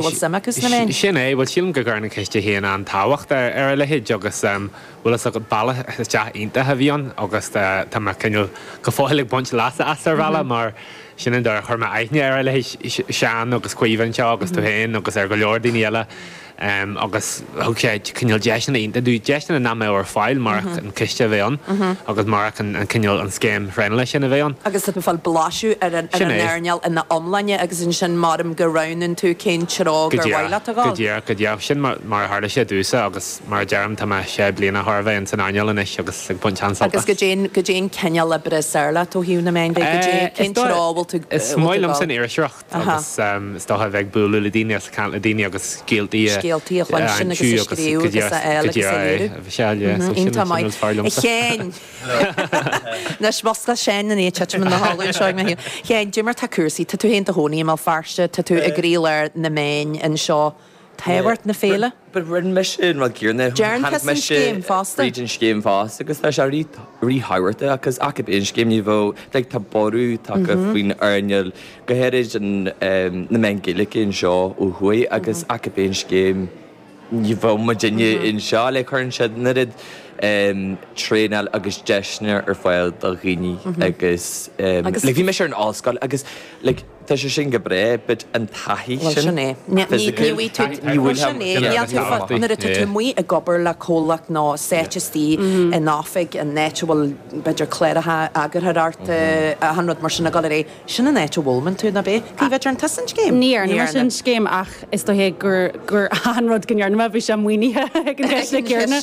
Bhfuil suim acu sna meáin? Sin é, bhuel sílim go gcuireann an ciste féin an-tábhacht ar a leithéid agus bhfuil fhios agat bealach isteach iontach a bhí ann agus tá mé cineál go fóill ag baint leasa as ar bhealach mar sin an dóigh ar chuir mé aithne ar a leithéid Seán agus Caoimhe anseo agus tú féin agus ar go leor daoine eile. Agus thug sé cineál deiseanna iontacha dúinn, deiseanna nach mbeadh ar fáil murach an ciste a bheith ann agus murach an cineál, an scéim thraenála sin a bheith ann. Agus tá tú ag fáil blaiseadh ar an Sin é. earnáil ina iomláine agus ansin maram go roghnaíonn tú cén treo Go gur mhaith díreach, leat a go dhul. díreach, go díreach. Sin mar a tharla sé domhsa agus mar a deirim tá mé sé bliana chóir a bheith ins an earnáil anois agus ag baint an-sult Agus as. goidé, goidé an cineál oibre is fearr leat ó thaobh na meán de, goidé, Is cén dóigh, treo a bhfuil tú, a is bhfuil tú maith ag liomsa dul? an iriseoireacht. Aha. Agus is dócha a bheith ag bualadh le daoine agus ag caint le daoine agus scéaltaí a Scéaltaí a chluinstin agus aimsiú a agus scríobh go agus a díreach fháil go agus a díreach é léiriú. a bheith seal, yeah. So sin Iontach sin maith. rud is fearr A liomsa. Sheáin! Anois, mhuscail Seán an éit titim ina chodladh anseo ag mo thaobh. A Sheáin, goidé mar tá cúrsaí? Tá tú féin i do chónaí i mBéal Feirste, tá tú i gcroílár na meáin anseo. Tábhacht na féile? But rinne mise an rud céanna. Deireann Tháinig tusa an mise scéim fosta. fríd an scéim fosta agus tá sé ríthábhachtach agus ach ab aon scéim ní bheadh like tá borradh tagtha faoin earnáil go háirid an na meáin Gaeilge anseo ó thuaidh agus ach ab aon scéim ní bheadh muidinne anseo like cuireann siad an oiread traenáil agus deiseanna ar fáil do dhaoine agus like bhí mise ar an ollscoil agus like Tá sé sin go breá, but an taithí Bhuel, sin sin é. Ní physical, bhfaighidh tú, ní bhuel, sin é, níl tú fá, nuair atá tú amuigh ag obair le comhlacht nó sáite istigh in oifig, in áit a bhfuil, b'fhéidir, cláracha eagarthóireachta, achan rud mar sin ag dul ar aghaidh, sin an áit a bhfoghlaimíonn tú, ná b'é? Caoimhe, dearn tusa an scéim? Ní dhearna mise an scéim ach is dóiche gur, gur achan rud go ndearna mé, bhí sé maoinithe ag an gciste céanna.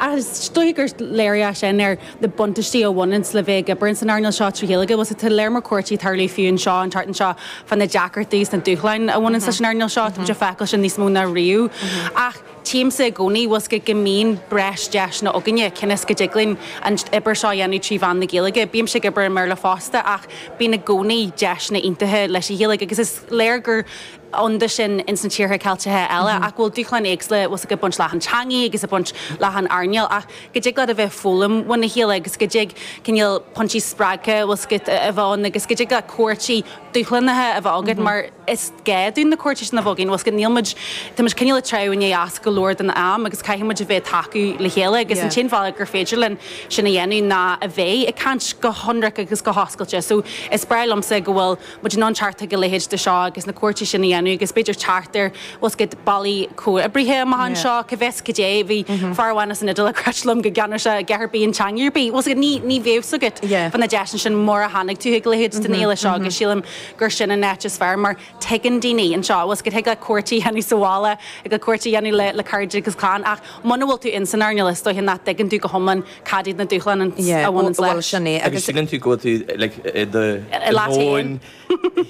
Ach is dóiche gur léiriú é sin ar na buntáistí a bhaineanns le bheith ag obair ins an earnáil seo trí Ghaeilge. Bhuel, tá léar mór comhráití ag tarlú fiú anseo an tseachtain seo fá na deacrachtaí is na dúshláin a bhaineanns leis an earnáil seo. Tá muid ag feiceáil sin níos mó ná riamh. Ach tchímse i gcónaí, bhfuil 's agat, go mbíonn breis deiseanna againne cionn is go dtig linn an obair seo a dhéanamh trí mheán na Gaeilge. Bímse ag obair i mBéarla fosta ach bíonn i gcónaí deiseanna iontacha leis an Ghaeilge agus is léir gur ann dó sin ins na tíortha Ceilteacha eile ach go bhfuil dúshláin éagsúla bhfuil 's agat ag baint leis an teangaidh agus ag baint leis an earnáil ach go dtig leat a bheith ag foghlaim óna chéile agus go dtig cineál pointí spreagtha bhfuil 's agat a bheith ann agus go dtig leat comhráití dúshlánacha a bheith agat mar is gá dúinn na comhráití sin a bheith againn bhfuil 's agat níl muid tá muid cineál ag treabhadh i ndiaidh eas go leor den am agus caithfidh muid a bheith ag tacú le chéile agus an t-aon bhealach gur féidir linn sin a dhéanamh ná a bheith ag caint go hionraic agus go hoscailte so is breá liomsa go bhfuil muid in ann teacht chuig a leithéid de seo agus na comhráití sin a dhéanamh agus b'fhéidir teacht ar, bhfuil 's agat, bealaí comhoibrithe amach anseo, cá bhfios cad é. Bhí fear amháin as an Iodáil ag ráit liom go gceannódh sé a dhath ar bith in teanga ar bith. Bhfuil 's agat, ní, ní bheadh 's agat fá na deiseanna sin mura tháinig tú chuig a leithéid den fhéile seo agus sílim gur sin an áit is fearr mar tuigeann daoine anseo, bhfuil 's agat, thig leat comhráití a dhéanamh sa bhaile, thig leat comhráití a dhéanamh le, le cairde agus clann ach muna bhfuil tú ins an earnáil is dóiche nach dtuigeann tú go hiomlán Cad iad na dúshláin a bhaineann Bhuel, leis? sin é. Agus síleann tú go bhfuil tú like i do dhomhan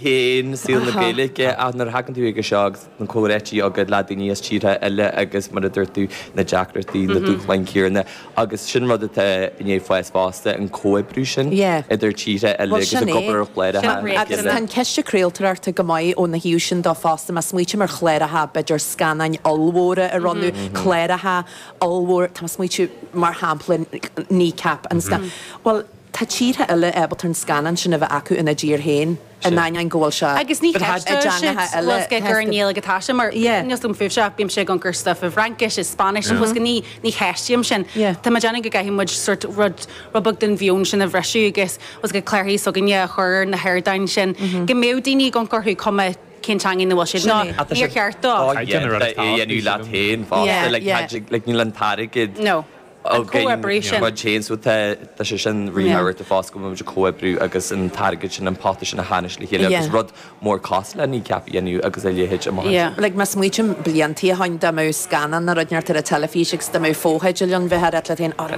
féin, saol na Gaeilge, ach nuair a thagann tú chuige seo agus na comhráití agat le daoine as tíortha eile agus mar a dúirt tú, na deacrachtaí, na dúshláin chéanna agus sin rud atá i ndiaidh fás fosta, an comhoibriú sin idir tíortha eile Bhuel, agus sin ag é. obair ar chláracha le Agus chéile. tá an Ciste Craoltóireachta go maith óna thaobh sin de fosta, má smaoitím ar chláracha, b'fhéidir scannáin ollmhóra a rinneadh, cláracha ollmhór, tá mé ag smaoitiú, mar shampla, Kneecap, an scannán. Bhuel, tá tíortha eile ábalta an scannán sin a bheith acu ina dtír féin, in ainneoin go bhfuil sé Agus ní i cheistóidh siad dteangacha eile. bhfuil 's agat gur i nGaeilge atá sé, mar níl 's agam fúibhse ach bímse ag amharc ar stuif i bhFraincis, i Spáinnis, bhfuil 's agat, ní, ní cheistím sin. Tá mé ag déanamh go gcaithfidh muid sort rud, rud beag den mheon sin a bhriseadh agus, bhfuil 's agat, cláracha s'againne a chur ar na hardáin sin, go mbeadh daoine ag amharc orthu, cuma cén teanga ina bhfuil siad nó níor cheart dó. Caighdeán a rud é a dhéanamh leat féin fosta, like níl an t-airgead againn muid féin so tá sé sin ríthábhachtach fosta go bhfuil muid ag comhoibriú agus an t-airgead sin, an pota sin a tharraingt le chéile agus rud mór cosúil le Kneecap a dhéanamh agus a leithéid amach anseo. Like má smaoitím bliantaí ó shoin dá mbeadh scannán nó rud inteacht ar an teilifís agus dá mbeadh fotheidil ann bheifeá ag ráit leat féin oh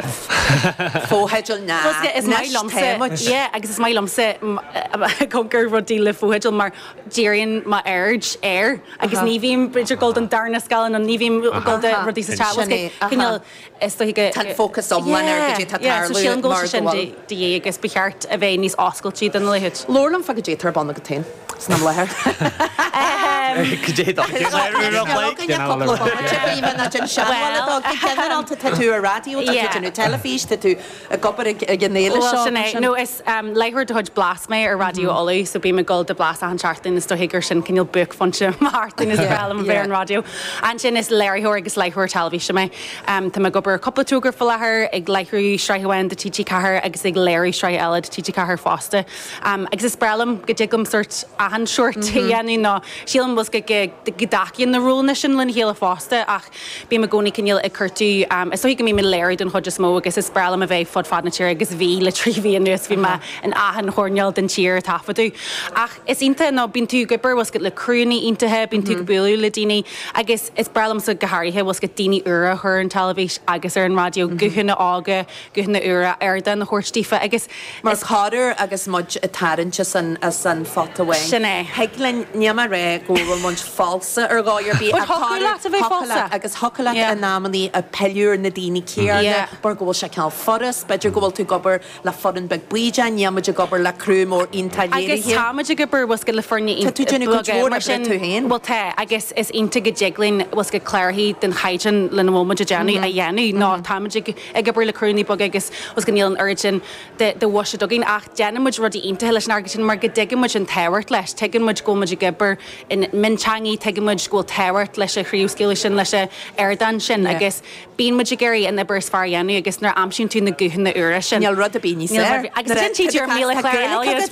fotheidil ná anois tá muid. Yeah agus is maith liomsa ag amharc ar rudaí le fotheidil mar díríonn m'aird air agus ní bhím b'fhéidir ag dul don darna scáileán nó ní bhím ag dul do rudaí sa teach. Sin é, Cineál is dóiche go. Tá an fócas iomlán ar goidé tá Yeah, so tarlú sílim go mar bhfuil sé sin go bhfuil. de dhíth agus ba cheart a bheith níos oscailte dona leithéid. Labhair liom fá goidé atá ar bun agat féin san am láthair. Tá tú ar raidió, tá tú ag déanamh teilifís, tá tú ag obair ag an fhéile Bhuel seo. sin é. No is láithreoir de chuid Blas mé ar Raidió Uladh so bím ag dul do Blas achan seachtain is dóiche gur sin cineál buaicphointe mo sheachtain is breá liom a bheith ar an raidió. Ansin is léiritheoir agus láithreoir teilifíse mé. Tá mé ag obair ar cúpla togra faoi láthair, ag láithriú sraith amháin do TG4 agus ag léiriú sraith eile do TG4 fosta. Agus is breá liom go dtig liom sórt achan seort a dhéanamh nó sílim bhfuil go go dtacaíonn na rólanna sin lena chéile fosta ach bím i gcónaí cineál ag cuartú is dóichí go mbím ag léiriú don chuid is mó agus is breá liom a bheith fud fad na tíre agus bhí le 3 mhí anuas bhí mé in achan choirnéal den tír ag taifeadadh. Ach is iontach nó bíonn tú ag obair bhfuil 's agat le criúnna iontacha, bíonn tú ag bualadh le daoine agus is breá liomsa go háirithe bhfuil 's agat daoine úra a chur ar an teilifís agus ar an raidió, guthanna óga, guthanna úra, ardán a thabhairt daofa agus Mar corruair agus muid ag tarraingt as an as an phota amháin. Sin é. Thig linn, níl mé ag rá go bhfuil muid falsa ar dhóigh ar bith But ach thiocfadh corruair leat a bheith thiocfadh falsa. leat agus thiocfadh leat Yeah. in amannaí ag pilleadh ar na daoine céanna Yeah. mar go bhfuil sé cineál furast, b'fhéidir go bhfuil tú ag obair le foireann beag bídeach, níl muid ag obair le criú mór iontach Agus léirithe. tá muid ag obair bhfuil 's agat le foirne Tá tú ag déanamh cuid beaga mhór mar oibre sin tú féin. bhuel tá agus is iontach go dtig linn bhfuil 's agat clárachaí den chaighdeán lena bhfuil muid ag déanamh a dhéanamh nó tá muid ag ag obair le criúnna beaga agus bhfuil 's agat níl an oiread sin de de bhuiséad againn ach déanann muid rudaí iontacha leis an airgead sin mar go dtuigeann muid an tábhacht leis, tuigeann muid go bhfuil muid ag obair i mionteangaí, tuigeann muid go bhfuil tábhacht leis an chraobhscaoileadh sin, leis an ardán sin agus bíonn muid ag iarraidh an obair is fearr a dhéanamh agus nuair a aimsíonn tú na guthanna úra sin. Níl rud ar bith níos Níl rud ar fearr. bith. Agus ansin tchí tú ar 1,000 clár eile agus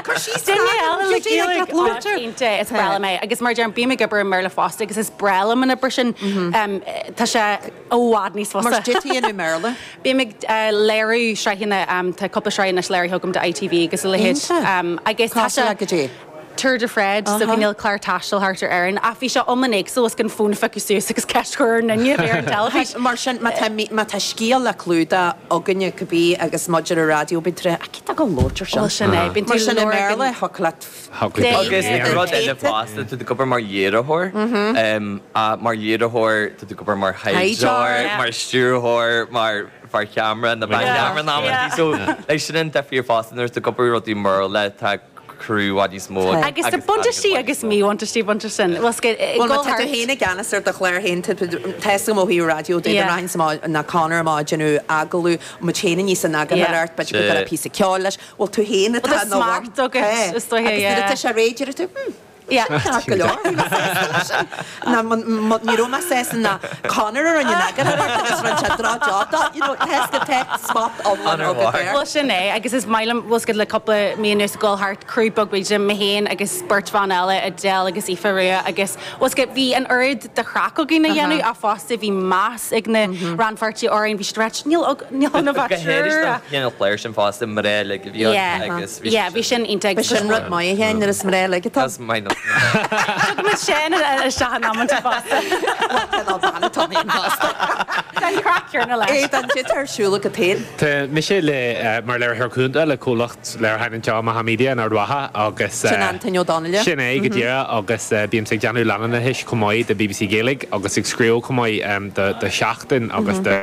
Cur síos Duine eile le Gaeilge Gaeilge iontach, is breá liom é. Agus mar a deirim, bím ag obair i mBéarla fosta agus is breá liom an obair sin. Tá sé i bhfad níos fusa. Mar goidé tá tú i mBéarla? Bím ag léiriú sraitheanna, tá cúpla sraith anois léirithe agam do ITV agus a leithéid. Iontach. Agus tá Cosúil sé le goidé? Tour de Fred, so cineál clár taistil thart ar Éirinn. Ach bhí sé iomlán éagsúil is gan fón a phiocadh suas agus ceist a chur ar an duine a bhí ar an teilifís. Mar sin, má tá má tá scéal le clúdach againne cibé agus muid ar an raidió, bíonn tú ag rá, cé atá ag gabháil a labhairt ar sin? Bhuel sin é, bíonn tú Mar sin i ag lorg mBéarla, an. thiocfadh leat Agus rud eile fosta, tá tú ag obair mar léiritheoir, mar léiritheoir, tá tú ag obair mar thaighdeoir, mar stiúrthóir, mar fear ceamara nó bean cheamara in amantaí. So, like, sin an difríocht fosta nuair atá tú ag obair rudaí i mBéarla, tá criú i bhfad níos mó Agus tá buntáistí agus míbhuntáistí ag baint leis sin. Bhuel, Bhuel, má tá tú féin i gceannas ar do chlár féin, tá a fhios agam ó thaobh raidió de, dá rachainnse amach ná Conor amach ag déanamh agallamh, muid féin aníos san eagarthóireacht, b'fhéidir go gcuirfeá píosa ceoil leis, Bhuel, tú féin atá ina bhun. Tá smacht agat, is dóiche, Agus nuair yeah. atá sé réidh, deir tú, hmm, Yeah. sin ceart go leor, bhí mé sásta leis sin. Ná, ní raibh mé sásta ná Conor a rinne an eagarthóireacht agus rinne sé droch-job dó, you know, tá a fhios agat, tá smacht iomlán agat air. Bhuel, sin é, agus is maith liom, bhfuil a fhios agat le cúpla mí anuas ag dul thart, criú beag bídeach, mé féin agus beirt bhan eile, Adele agus Aoife Rua, agus bhfuil a fhios agat, bhí an oiread de chraic againn a dhéanamh ach fosta bhí meas ag na rannpháirtithe orainn, bhí siad ag ráit, níl níl ann ach Go háirid triúr. don chineál cláir sin fosta, mná uilig a bhí ann agus bhí Yeah, bhí sin iontach. B'shin rud maith a Sheáin nuair is mná uilig atá. Is maith liom. Tugaimid sin isteach in amanta fosta. Bhuel, cineál bean atá ann fosta. Tá an craic céanna leis. Aodán, goidé atá ar siúl agat féin? Tá mise le mar léiritheoir cúnta le comhlacht léiriúcháin anseo, Macha Media in Ard Mhacha agus. Sin Antaine Ó Donnaile. Sin é go díreach agus bímse ag déanamh leanúnachais chomh maith do bbc Gaeilge agus ag scríobh chomh maith do Seachtain agus do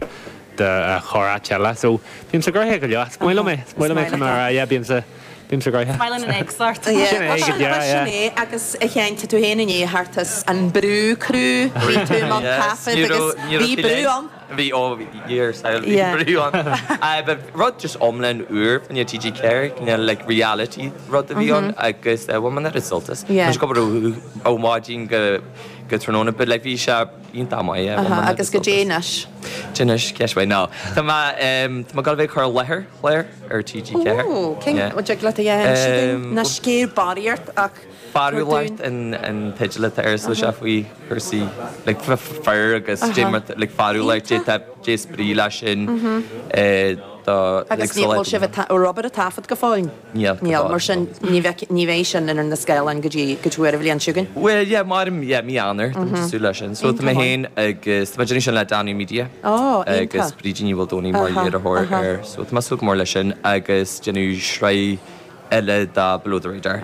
do chorr-áit eile. So bímse gnoitheach go leor. Is maith liom é. Is maith liom é chun a rá yeah bímse bímse gnoitheach. Is maith linn an éagsúlacht. Sin é go díreach Sin yeah. é agus a Sheáin tá tú féin i ndiaidh theacht as an brú crew bhí tú i mbun taifead agus bhí brú ann. Bhí, ó, bhí ar saol, bhí brú ann. Ba rud just iomlán úr fá choinne TG4, cineál like reality rud a bhí ann agus bhain mé an oiread sult as. Bhí muid ag obair ó mhaidin go go tráthnóna but like bhí sé iontach maith, yeah, bhain mé an oiread Agus goidé anois? Goidé anois, ceist mhaith. No, tá mé, tá mé ag dul a bheith ag cur i láthair clár ar TG4. Ó, cén, an dtig leat a inse dúinn? Ná sciorr barraíocht ach Fearúlacht an teideal atá air so sé faoi chúrsaí like fir agus dé mar like fearúlacht dé tá dé is brí leis sin do like Agus ní bhfuil sibh ag obair ag taifead go fóill? Níl, go Níl, fóill. mar sin ní bheidh ní bheidh sin ar na scáileáin go dtí go dtí an bhliain seo chugainn. Bhuel yeah maram yeah mí Eanáir tá muid ag súil leis sin. So tá mé féin agus tá mé ag déanamh sin le Danú Media Ó, agus iontach. Brídín Ní Mhaoldomhnaigh mar léiritheoir air so tá mé ag súil go mór leis sin agus déanamh sraith eile de Below the Radar.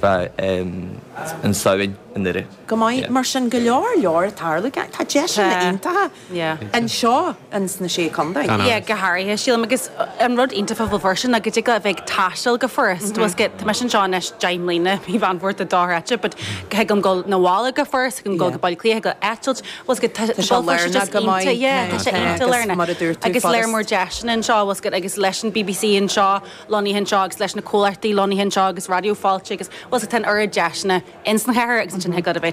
Fá an Samhain i nDoire. Go maith, mar sin go leor leor ag tarlú. Tá deiseanna iontacha anseo ins na Sé Chontae. Yeah, go háirithe, sílim, agus an rud iontach fá Bhéal Feirste ná go dtig leat a bheith ag taisteal go furast. Bhfuil 's agat, tá mise anseo anois 10 mbliana, mí Mheán Fómhair tá dochreidte, but thig liom dul 'na bhaile go furast, thig liom dul go Baile Átha Cliath, thig liom eitilt, bhfuil 's agat, tá Béal Feirste just iontach, yeah, tá sé iontach lárnach. Agus léar mór deiseanna anseo, bhfuil 's agat, agus leis an BBC anseo, lonnaithe anseo agus leis na comhlachtaí lonnaithe anseo agus Raidió Fáilte agus bhfuil 's agat, tá an oiread deiseanna ins an chathair agus ansin thig leat a bheith.